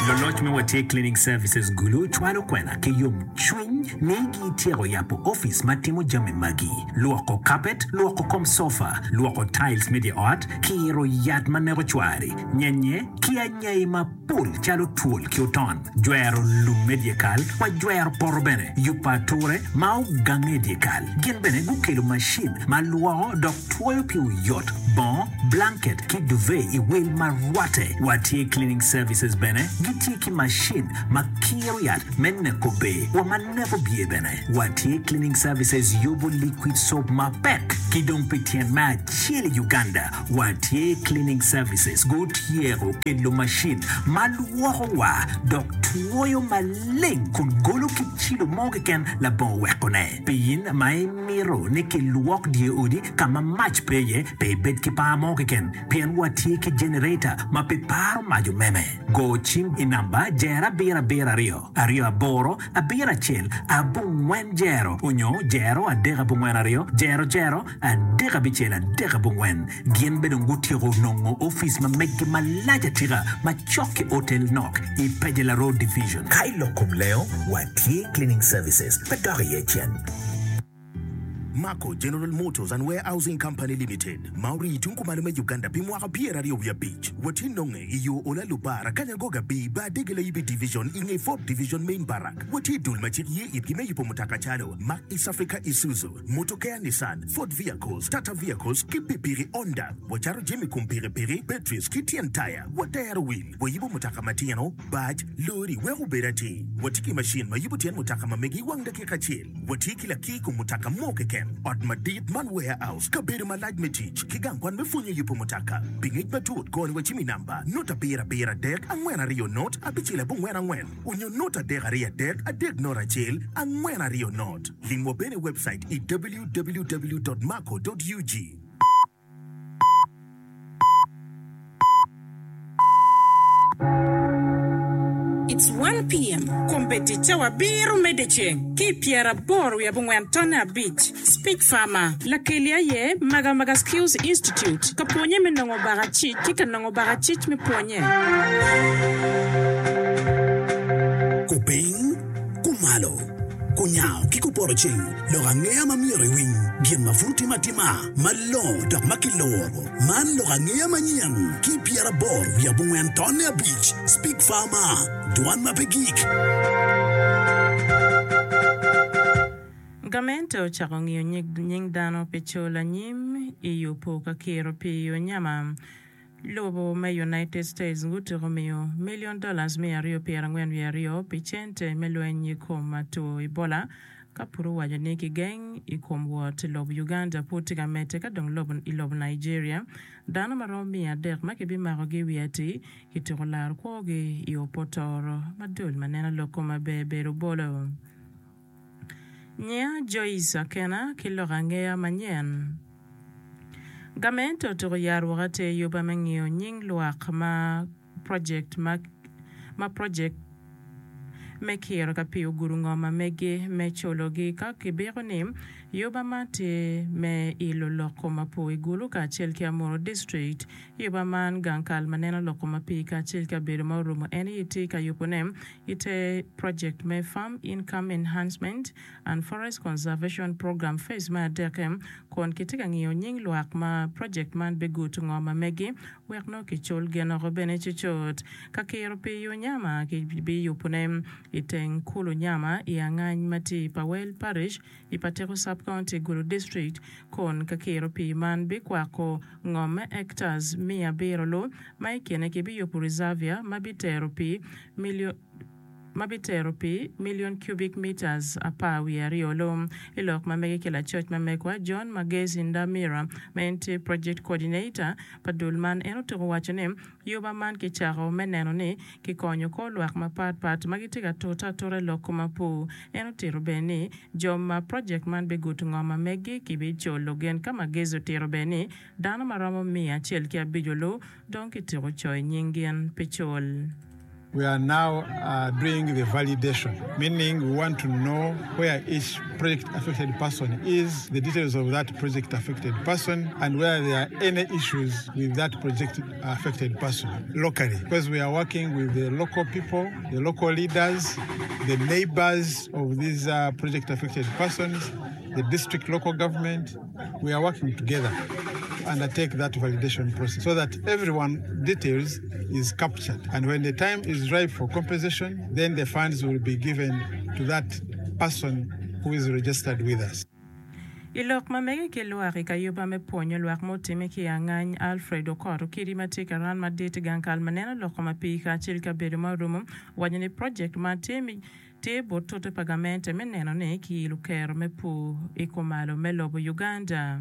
Luloc me Watye Cleaning Services Gulu cwalo kwena ki yomcwiny ni gityeko yabo opic ma timo jami magi, lwoko kapet, lwoko kom sofa, lwoko tiles me dye ot, kiro yat ma neko cwari, nyenye, ki anyai mapol calo twol ki oton, jwero lum me dyekal, wa jwero poto bene, yubo ature ma ogange i dyekal. Gin bene gukelo macin ma lwoko dok twoyo pi oyot, bongo, blanket, ki duvet i wel ma rwatte. Watye Cleaning Services bene gitye ki macin ma kiro yat me neko bee wa ma neko bye bene. Watye Cleaning Services yubo liquid soap mapek ki dong pi tyen me acel i Uganda Watye Cleaning Services gutyeko kelo macin ma lwoko wa dok twoyo maleng kun golo ki cilo mo keken labongo wekone. Pi in ma imito ni kilwok dye odi ka ma mac pe iye, pe ibed ki par mo keken pien watye ki generator ma pe paro mac omeme. Go cim i namba jero abiro abiro aryo, aryo aboro, abiro acel, abongwen jero onyo jero adek abongwen aryo, jero jero, adek abicel adek abongwen. Gin bene dong gutyeko nongo opic ma meggi malac atika ma cok ki otel nok i Pejela Road Division. Ka i lok kom lengo, watye Cleaning Services pe dok iye cen. Mako General Motors and Warehousing Company Limited, ma orii tung kumalo me Uganda pi mwaka pyeraryo wiye abic. Watye nonge i yo Ola Lubara, Kanyangoga B, Bar Dege Layibi Division i nge Fourth Division Main Barrack. Watye i dul ma cik ye itgi me yubo mutoka calo Mack East Africa Isuzu, Mutokea Nissan, Ford Vehicles, Tata Vehicles ki pikipiki Honda. Wacato jami kom pikipiki, batteries ki tyen taya. Watero wil, wayubo mutoka matino, bac, lori wek obed atir. Watye ki macin ma yubo tyen mutoka ma megi i wang dakika acel. Watye ki lakir kom mutoka mo keken, ot madit man warehouse, kabedo malac me tic, ki gang kwan me pwonyo yubo mutoka. Pi ngec matut, goni wa cim i namba, not abiro abiro adek angwen aryo not abicel abongwen angwen onyo not adek aryo adek adek not acel angwen aryo not. Limwa bene i webcait i www dot mako dot ug. It's one PM, Kombeddi cawa abiro me dyeceng ki i pyeraboro wiye abongwen tonne abic. Speech Farmer, Lakeli aye Maga Maga Skills Institute ka pwonye me nongo bakacic ki ka nongo bakacic me pwonye. Kupiny, kumalo, kunyango ki kupoto ceng, lok angeya ma myero iwiny, gin ma pud otime atima, malongo dok ma kiluro. Man lok angeya manyen ki pyeraboro wiye abongwen tonne abic, Speak Farmer, Dwan ma pe gik. Gamente ocako ngiyo nying dano pi cul anyim i yubo ka kiro pii onyama. Lobo me United States gutyeko miyo million dollars miya aryo pyerangwen wiye aryo pi cente me lweny i kom two Ebola ka pud owaco ni kigeng i kom wot i lobo Uganda pud tye ka medde ka dong i lobo Nigeria dano ma romo miya adek ma kibimakogi i wi atir kityeko laro kwogi i opotoro ma dul ma neno lok kom maber bedo bolo. Nyinga Joyce Akena ki lok angeya manyen. Gamente otuko yar woko atir yuba me ngiyo nying lwak ma project ma project me kiro ka pii ogudo ngom ma megi me culo gi ka kibiko ni yuba man tye me ilo lok kom apur i Gulu kacel ki Amuru District. Yuba man gang kal ma neno lok kom apii kacel ki kabedo ma orumo en aye tye ka yubo ne i te project me Farm Income Enhancement and Forest Conservation Program Phase me adekke kun kitye ka ngiyo nying lwak ma project man biguto ngo ma megi wek nongo kicul gin oko bene cucut. Ka kiro pii i Onyama kibiyubo ne i teng kulu Nyama i Angany ma tye i Pawel Parish i Patiko Sub-County, Gulu District kun ka kiro pii man bikwako ngom me hectares miya abiro lu ma i kine kibiyubo reservia ma bitero pii ma bitero pii million cubic meters apar wiye aryo lu. I lok ma mege ki lacoc ma megwa John Magezi Ndamira ma en tye Project Coordinator pa dul man en otuko waco ni Yuba man kicako me neno ni kikonyo kor lwak mapat pat ma gitye ka tute atuta i lok kom apur. En otito bene ni jo ma projek man biguto ngo ma meggi kibiculo gin ka Magezi otito bene ni dano ma romo miya acel ki abico lu dong kityeko coyo nying gin pi cul. We are now doing the validation, meaning we want to know where each project affected person is, the details of that project affected person, and whether there are any issues with that project affected person locally. Because we are working with the local people, the local leaders, the neighbors of these project affected persons, the district local government. We are working together to undertake that validation process so that everyone details is captured and when the time is ripe for compensation then the funds will be given to that person who is registered with us. I lok ma mege ki lwak i kayuba me pwonyo lwak ma otime ki i Angany, Alfred Okot Okidi ma tye karan madit i gang kal ma neno loko ma pii kacel ki kabedo ma orumo owaco ni project man tye me Tye but tute pa gamente me neno ni kiilo kero me pur i kumalo me lobo Uganda.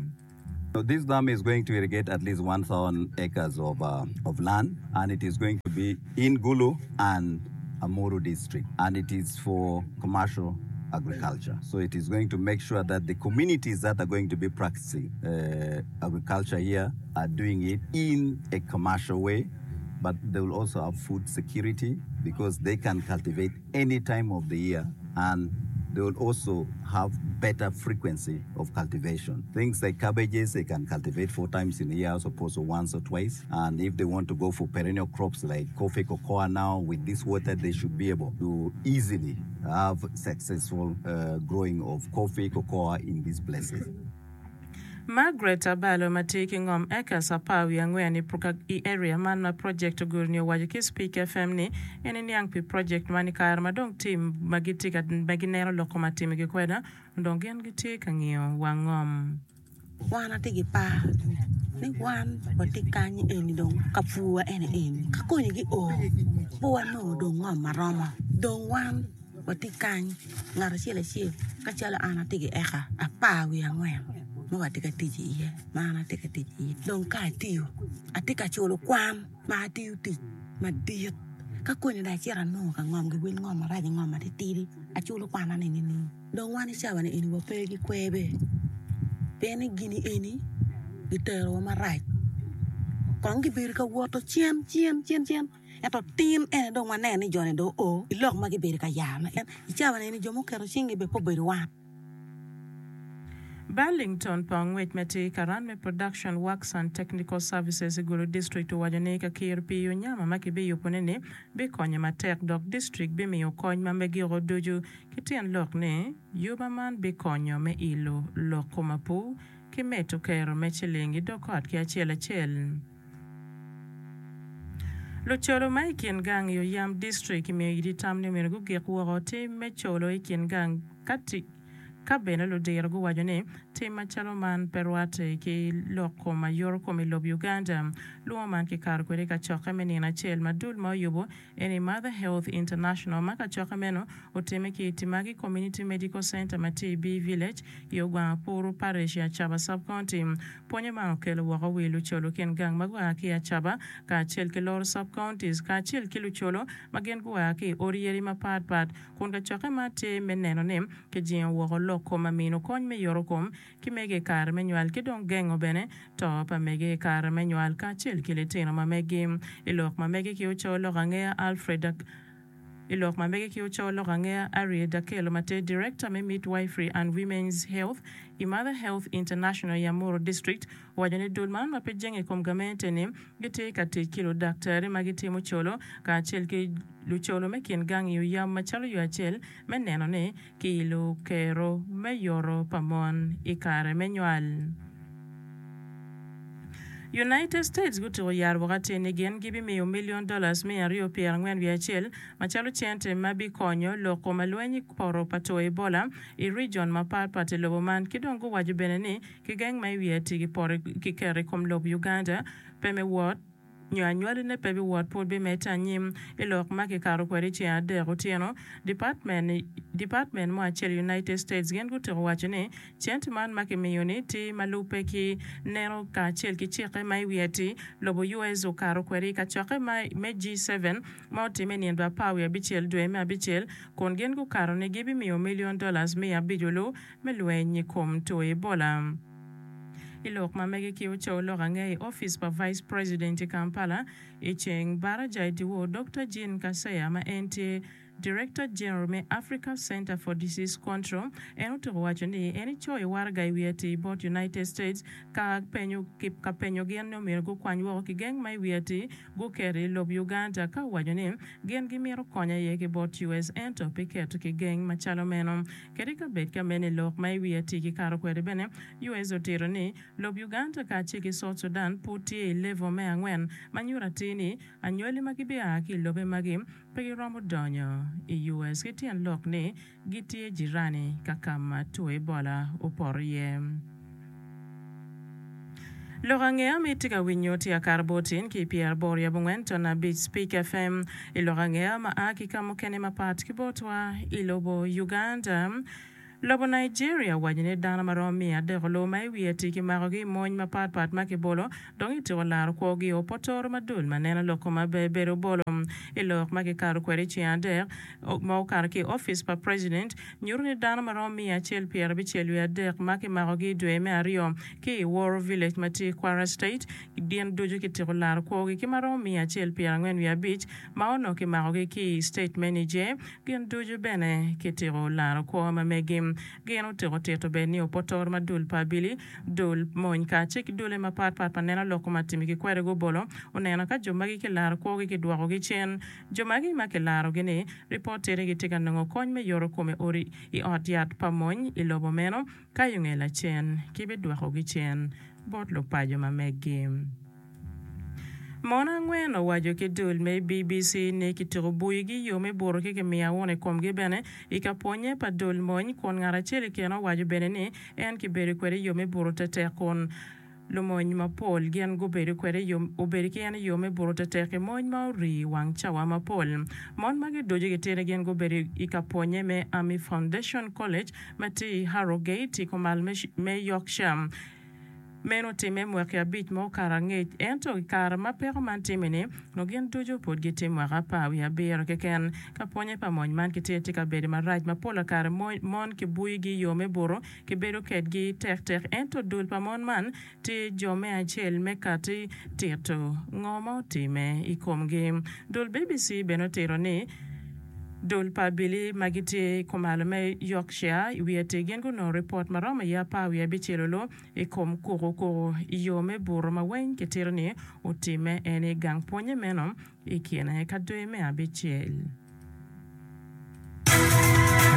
This dam is going to irrigate at least 1,000 acres of, uh, of land and it is going to be in Gulu and Amuru district and it is for commercial agriculture. So it is going to make sure that the communities that are going to be practicing uh, agriculture here are doing it in a commercial way, but they will also have food security because they can cultivate any time of the year and they will also have better frequency of cultivation. Things like cabbages, they can cultivate four times in a year as opposed to once or twice. And if they want to go for perennial crops like coffee, cocoa now, with this water, they should be able to easily have successful uh, growing of coffee, cocoa in these places. Margaret Abalo ma tye ki ngom acres 14 i area man ma project oguro-ni owaco ki Speak FM ni en eniang pi project man i kare ma dong team ma gitye ka ma gineno lok kom atimigi kweda dong gin gitye ka ngiyo wang ngom. Wan atye ki par ni wan watye kany eni dong ka pur wa eni eni ka koni gi oo pe wanongo dong ngom maromo dong wan Watye kany, ngat acel acel ka calo an atye ki eka 14 ma watye ka tic iye ma an atye ka tic iye dong ka atiyo atye ka culo kwan ma atiyo tic madit ka koni dong acito anongo ka ngom giwil ngom marac ngom matitidi aculo kwana ni nining dong wan i cawa ni eni wape ki kwer be pien ni gini eni giterowa marac kong gibedo ka woto cen cen cen cen. Ento tin ene dong waneno ni jo-ni dong oo i lok ma gibedo ka yarone. I cawa-ni eni jo muketo cinggi bene pe obedo wan. Burlington pa ongwec ma tye i karan me Production Works and Technical Services i Gulu District owaco ni ka kiro pii onyama ma kibiyubone-ni bikonyo matek dok distrik bimiyo kony ma megiko ducu ki tyen lok ni yuba man bikonyo me ilo lok kom apur ki medo kero me ciling i dog ot ki acel acel. Lucolo ma i kin gang i Oyam District kimiyo iti tam ni myero gugik woko tim me colo i kin gang ka ka bene ludiro guwaco ni tim macalo man pe rwatte ki lok kom ayoto kom i lob Uganda. Lwongo man kikato kwede i kacokke me nino acel ma dul ma oyubo en i Mother Health International ma kacokke meno otimme ki i Timagi Community Medical Centre ma tye i Bii Village i Ogwang Apuru Parish i Acaba Sub-County. Pwonye man okelo woko wi lucolo kin gang ma gua ki i Acaba kacel ki Loro Sub-Counties kacel ki lucolo ma gin gua ki i odi yadi mapat pat kun kacokke man tye me neno ni kijingo woko lok kom amino kony me yoto kom ki mege i kare me nywal ki dong gengo bene to pa mege i kare me nywal kacel ki litino ma megi. I lok ma mege ki oco lok angeya Alfred I lok ma mege ki oco lok angeya Arie Dakelo ma tye Director me Midwifery and Women's Health i Mother Health International i Amuru District owaco ni dul man ma pe jenge i kom gamente ni gitye ka tic ki ludaktari ma gitimo colo kacel ki lucolo me kin gang i Oyam macalo yo acel me neno ni ki lukero me yoto pa mon i kare me nywal. United States gutuko yaro woko atir ni gin gibimiyo million dollars 241 macalo cente ma bikonyo loko ma lweny i poto pa two Ebola i region mapat pat i lobo man ki dong guwaco bene ni kigeng ma i wiye atir kiketo i kom lob Uganda pe me wot nyo anywaline pe biwot pud bimedde anyim. I lok ma kikato kwede i ceng adek otyeno, Dipatmen mo acel i United States gin gutiko waco ni cente man ma kimiyo-ni tye ma lubbe ki neno kacel ki cikke ma i wi ati lobo US okato kwede i kacokke me G7 ma otimme i nino 16 dwe me abicel kun gin gukato ni gibimiyo milion dollars 500 me lweny i kom two Ebola. I lok ma mege ki ocoyo lok ange i opic pa Vice President i Kampala i ceng baraja i dyewor, Dokta Jean Kaseya ma en tye Director General me Africa Center for Disease Control en otuko waco ni en ecoyo waraga i wi atir bot United States ka penyo ka penyo gin ni omyero gukwany woko kigeng ma i wi atir guketo i lob Uganda ka owaco ni gin gimito kony aye ki bot US ento pe keto kigeng macalo meno. Kadi ka bed ka meno i lok ma i wi atir kikato kwede bene, US otito ni lob Uganda kacel ki South Sudan pud tye i level me angwen ma nyuto atir ni anywali ma gibia ki i lobe magi pe giromo donyo i US ki tyen lok ni gitye jirani ka ka ma two Ebola opoto iye. Lok angeya ma itye ka winyo tye akato bot in ki i pyeraboro i abongwen ton abic Speak FM. I lok angeya ma a ki ka mukene mapat ki botwa i lobo Uganda, Lobo Nigeria owaco ni dano ma romo miya adek olu ma i wiye tye kimakogi i mony mapat pat ma kibolo dong ityeko laro kwogi i opotoro ma dul ma neno lok kom aber bedo obolo. I lok ma kikato kwede i ceng adek ma okato ki i opic pa president nyuto ni dano ma romo miya acel 73 ma kimakogi i dwe me aryo ki i Woro Village ma tye i Kwara State gin ducu kityeko laro kwogi ki ma romo 145 ma onongo kimakogi ki i state me Niger Gin ducu bene kitiko laro kwo ma megi. Gin otiko tito bene ni opotoro ma dul pa abili, dul mony kacel ki dule mapat pat ma neno lok kom atimigi kwede gubolo oneno ka jo magi kilaro kwogi kidwokogi cen. Jo magi ma kilarogi-ni, ripot tye ni gitye ka nongo kony me yoto kom i odi i ot yat pa mony i lobo meno ka i nge lacen kibidwokogi cen bot lupaco ma megi. Mon angwen owaco ki dul me BBC ni kituko buyigi i yo me buto ki kimiyo awuna i komgi bene i ka pwonye pa dul mony kun ngat acel i kine owaco bene ni en kibedo kwede i yo me buto tetek kun lumony mapol gin gubedo kwede obedo ki en i yo me buto tetek i mony ma orii wang cawa mapol. Mon magi ducu gitye ni gin gubedo i ka pwonye me Army Foundation College ma tye i Harrogate i kumal me Yorkshire. Meno otimme mwaki abic ma okato angec, ento i kare ma peko man timme-ni, onongo gin ducu pud gitye mwaka apar wiye abiro keken. Ka pwonnye pa mony man kitye tye ka bedo marac ma pola kare mon kibuyogi i yo me buto, kibedo kedgi tektek. Ento dul pa mon man tye jo me acel me kati tito ngo ma otimme i komgi. Dul BBC bene otito ni, Dul pa abili ma gitye kumalo me Yorkshire i wi atir gin gunongo ripot ma romo iye apar wiye abicel olu i kom kuku kuku i yo me buto ma weng kitito ni otimme en i gang pwonye meno i kine ka dwe me abicel.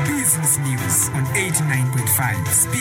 Business News on 89.5 Speak.